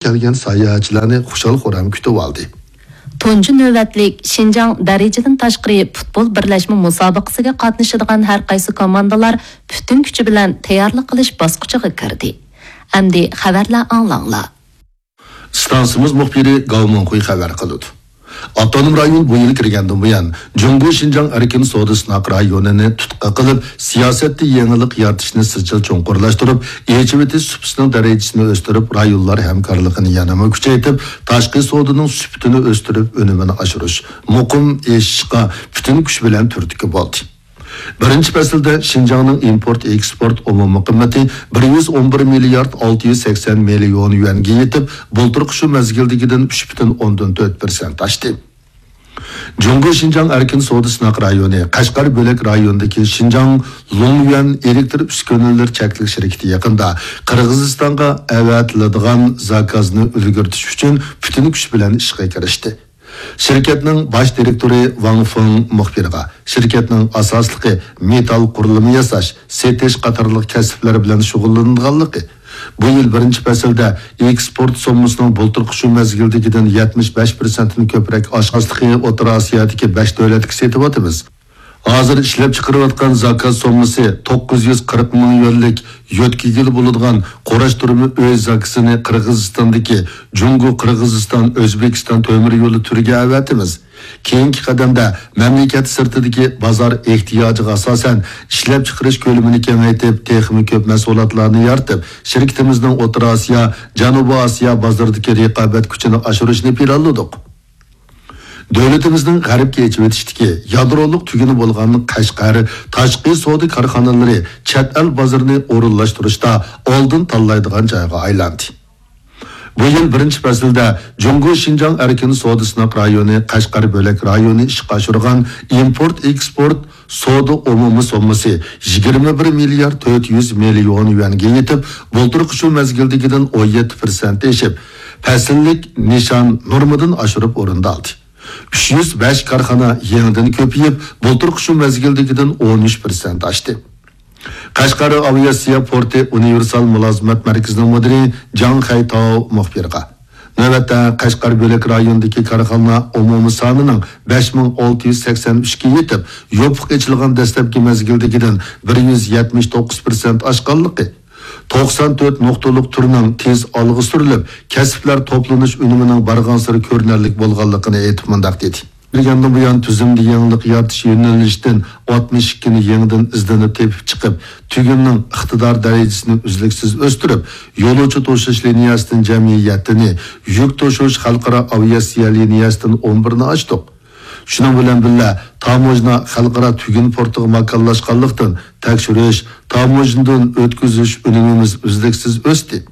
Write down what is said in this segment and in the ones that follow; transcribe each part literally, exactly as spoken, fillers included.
كەلگەن ساياھەتچىلەرنى خۇشال-خۇرام كۈتۈۋالدى. تۇنجى نۆۋەتلىك شىنجاڭ دەرىجىدىن تاشقىرى پۇتبول بىرلەشمە مۇسابىقىسىگە قاتنىشىدىغان ھەر قايسى كوماندىلار پۈتۈن كۈچى بىلەن تەييارلىق قىلىش باسقۇچىغا كىردى. ئەمدى خەۋەرلەر ئاڭلاڭلار. ئىستانسىمىز مۇخبىرى گاۋ مىڭخۇي خەۋەر قىلىدۇ. ئاپتونوم رايون بۇ يىل كىرگەندىن بۇيان، جۇڭگو شىنجاڭ ئەركىن سودا سىناق رايونىنى تۇتقا قىلىپ، سىياسەتتە يېڭىلىق يارىتىشنى سىزچىل چوڭقۇرلاشتۇرۇپ، ئېچىۋېتىش سۇپىسىنىڭ دەرىجىسىنى ئۆستۈرۈپ، رايونلار ھەمكارلىقىنى يەنىمۇ كۈچەيتىپ، تاشقى سودىنىڭ سۈپىتىنى ئۆستۈرۈپ، ئۈنۈمىنى ئاشۇرۇش مۇقىم ئېشىشقا پۈتۈن كۈچ بىلەن تۈرتكە بولدى. بىرىنچى پەسىلدە شىنجاڭنىڭ ئىمپورت ئېكسپورت ئومۇمىي قىممىتى بىر يۈز ئون بىر مىليارد ئالتە يۈز سەكسەن مىليون يۈەنگە يېتىپ، بۇلتۇرقى شۇ مەزگىلدىكىدىن ئۈچ پۈتۈن ئوندىن تۆت پىرسەنت ئاشتى. جۇڭگو شىنجاڭ ئەركىن سودا سىناق رايونى قەشقەر بۆلەك رايونىدىكى شىنجاڭ لۇڭيۈەن ئېلېكتر ئۈسكۈنىلىرى چەكلىك شىركىتى يېقىندا قىرغىزىستانغا ئەۋەتىلىدىغان زاكازنى ئۈلگۈرتۈش ئۈچۈن پۈتۈن كۈچ بىلەن ئىشقا كىرىشتى. شىركەتنىڭ باش دىرېكتورى ۋاڭ فېڭ مۇخبىرغا شىركەتنىڭ ئاساسلىقى مېتال قۇرۇلما ياساش، سېتىش قاتارلىق كەسىپلەر بىلەن شۇغۇللىنىدىغانلىقى، بۇ يىل بىرىنچى پەسىلدە ئېكسپورت سوممىسىنىڭ بۇلتۇرقى شۇ مەزگىلدىكىدىن يەتمىش بەش پىرسەنتتىن كۆپرەك ئاشقانلىقى، ئوتتۇرا ئاسىيادىكى بەش دۆلەتكە سېتىۋاتىمىز. ھازىر ئىشلەپچىقىرىۋاتقان زاكاز سوممىسى توققۇز يۈز قىرىق مىڭ يۈەنلىك يۆتكىگىلى بولىدىغان قۇراشتۇرما ئۆي زاكىسىنى قىرغىزىستاندىكى جۇڭگو، قىرغىزىستان، ئۆزبېكىستان تۆمۈر يولى تۈرىگە ئەۋەتىمىز. كېيىنكى قەدەمدە مەملىكەت سىرتىدىكى بازار ئېھتىياجىغا ئاساسەن ئىشلەپچىقىرىش كۆلىمىنى كېڭەيتىپ، تېخىمۇ كۆپ مەھسۇلاتلارنى يارىتىپ، شىركىتىمىزنىڭ ئوتتۇرا ئاسىيا، جەنۇبىي ئاسىيا بازىرىدىكى رىقابەت كۈچىنى ئاشۇرۇشنى پىلانلىدۇق. دۆلىتىمىزنىڭ غەربكە ئېچىۋېتىشتىكى يادرولۇق تۈگۈنى بولغان قەشقەر تاشقى سودا كارخانىلىرى چەت ئەل بازىرىنى ئورۇنلاشتۇرۇشتا ئالدىن تاللايدىغان جايغا ئايلاندى. بۇ يىل بىرىنچى پەسىلدە جۇڭگو شىنجاڭ ئەركىن سودا سىناق رايونى قەشقەر بۆلەك رايونى ئىشقا ئاشۇرغان ئىمپورت ئېكسپورت سودا ئومۇمىي سوممىسى يىگىرمە بىر مىليارد تۆت يۈز مىليون يۈەنگە يېتىپ، بۇلتۇرقى شۇ مەزگىلدىكىدىن ئون يەتتە پىرسەنت ئېشىپ، پەسىللىك نىشان نورمىدىن ئاشۇرۇپ ئورۇندالدى. ئۈچ يۈز بەش كارخانا يېڭىدىن كۆپىيىپ، بۇلتۇرقى شۇ مەزگىلدىكىدىن ئون ئۈچ پىرسەنت ئاشتى. قەشقەر ئاۋىئاتسىيە پورتى ئۇنىۋېرسال مۇلازىمەت مەركىزىنىڭ مۇدىرى جاڭ خەيتاۋ مۇخبىرغا، نۆۋەتتە قەشقەر بۆلەك رايونىدىكى كارخانا ئومۇمىي سانىنىڭ بەش مىڭ ئالتە يۈز سەكسەن ئۈچكە يېتىپ، يوپۇق ئېچىلغان دەسلەپكى مەزگىلدىكىدىن بىر يۈز يەتمىش توققۇز پىرسەنت ئاشقانلىقى، توقسان تۆت نۇقتىلىق تۈرنىڭ تېز ئالغا سۈرۈلۈپ، كەسىپلەر توپلىنىش ئۈنۈمىنىڭ بارغانسېرى كۆرۈنەرلىك بولغانلىقىنى ئېيتىپ مۇنداق دېدى. كىرگەندىن بۇيان، تۈزۈمدە يېڭىلىق يارىتىش يۆنىلىشىدىن ئاتمىش ئىككىنى يېڭىدىن ئىزدىنىپ تېپىپ چىقىپ، تۈگۈننىڭ ئىقتىدار دەرىجىسىنى ئۈزلۈكسىز ئۆستۈرۈپ، يولۇچى توشۇش لىنىيەسىدىن جەمئىي يەتتىنى، يۈك توشۇش خەلقئارا ئاۋىئاتسىيە لىنىيەسىدىن ئون بىرنى ئاچتۇق. شۇنىڭ بىلەن بىللە، تاموژنا خەلقئارا تۈگۈن پورتىغا ماكانلاشقانلىقتىن، تەكشۈرۈش، تاموژنىدىن ئۆتكۈزۈش ئۈنۈمىمىز ئۈزلۈكسىز ئۆستى.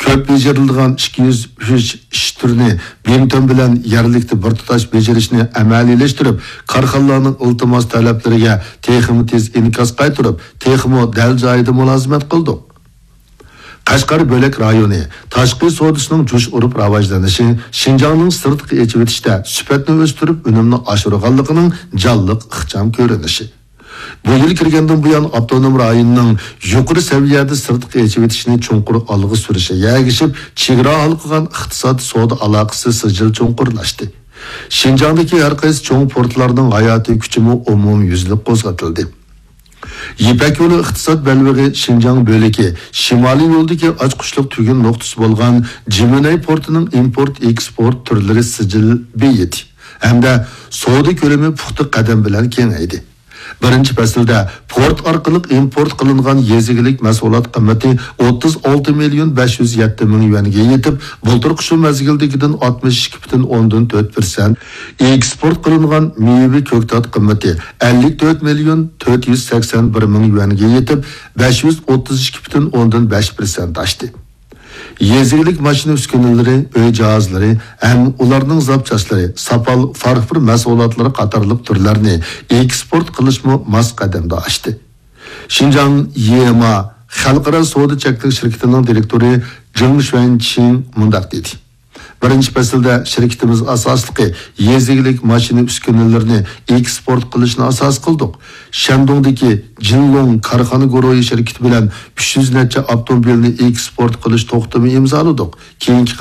كۆپ بېجىرىلىدىغان ئىككى يۈز ئۈچ ئىش تۈرىنى بىمتۈەن بىلەن يەرلىكتە بىر تۇتاش بېجىرىشنى ئەمەلىيلەشتۈرۈپ، كارخانىلارنىڭ ئىلتىماس تەلەپلىرىگە تېخىمۇ تېز ئىنكاس قايتۇرۇپ، تېخىمۇ دەل جايىدا مۇلازىمەت قىلدۇق. قەشقەر بۆلەك رايونى تاشقى سودىسىنىڭ جۇش ئۇرۇپ راۋاجلىنىشى شىنجاڭنىڭ سىرتقا ئېچىۋېتىشتە سۈپەتنى ئۆستۈرۈپ، ئۈنۈمنى ئاشۇرغانلىقىنىڭ جانلىق ئىخچام كۆرۈنۈشى. بۇ يىل كىرگەندىن بۇيان، ئاپتونوم رايوننىڭ يۇقىرى سەۋىيەدە سىرتقا ئېچىۋېتىشنى چوڭقۇر ئالغا سۈرۈشىگە ئەگىشىپ، چېگرا ھالقىغان ئىقتىساد سودا ئالاقىسى سىجىل چوڭقۇرلاشتى. شىنجاڭدىكى ھەر قايسى چوڭ پورتلارنىڭ ھاياتىي كۈچىمۇ ئومۇميۈزلۈك قوزغىتىلدى. يىپەك يولى ئىقتىساد بەلبېغى شىنجاڭ بۆلىكى شىمالىي يولدىكى ئاچقۇچلۇق تۈگۈن نۇقتىسى بولغان جىمىنەي پورتىنىڭ ئىمپورت ئېكسپورت تۈرلىرى سىجىل بېيىدى ھەمدە سودا كۆلىمى پۇختا قەدەم بىلەن كېڭەيدى. بىرىنچى پەسىلدە پورت ئارقىلىق ئىمپورت قىلىنغان يېزا ئىگىلىك مەھسۇلات قىممىتى ئوتتۇز ئالتە مىليون بەش يۈز يەتتە مىڭ يۈەنگە يېتىپ، بۇلتۇرقى شۇ مەزگىلدىكىدىن ئاتمىش ئىككى پۈتۈن ئوندىن تۆت پىرسەنت، ئېكسپورت قىلىنغان مېۋە كۆكتات قىممىتى ئەللىك تۆت مىليون تۆت يۈز سەكسەن بىر مىڭ يۈەنگە يېتىپ، بەش يۈز ئوتتۇز ئىككى پۈتۈن ئوندىن بەش پىرسەنت ئاشتى. يېزا ئىگىلىك ماشىنا ئۈسكۈنىلىرى، ئۆي جاھازلىرى ھەم ئۇلارنىڭ زاپچاسلىرى، ساپال فارفور مەھسۇلاتلىرى قاتارلىق تۈرلەرنى ئېكسپورت قىلىشمۇ ماس قەدەمدە ئاشتى. شىنجاڭ يېما خەلقئارا سودا چەكلىك شىركىتىنىڭ دىرېكتورى جېڭ شۈەنچىڭ مۇنداق دېدى: بىرىنچى پەسىلدە شىركىتىمىز ئاساسلىقى يېزا ئىگىلىك ماشىنا ئۈسكۈنىلىرىنى ئېكسپورت قىلىشنى ئاساس قىلدۇق. شەندۇڭدىكى جىنلۇڭ كارخانا گۇرۇھى شىركىتى بىلەن ئۈچ يۈز نەچچە ئاپتوموبىلنى ئېكسپورت قىلىش توختىمى ئىمزالىدۇق. كېيىنكى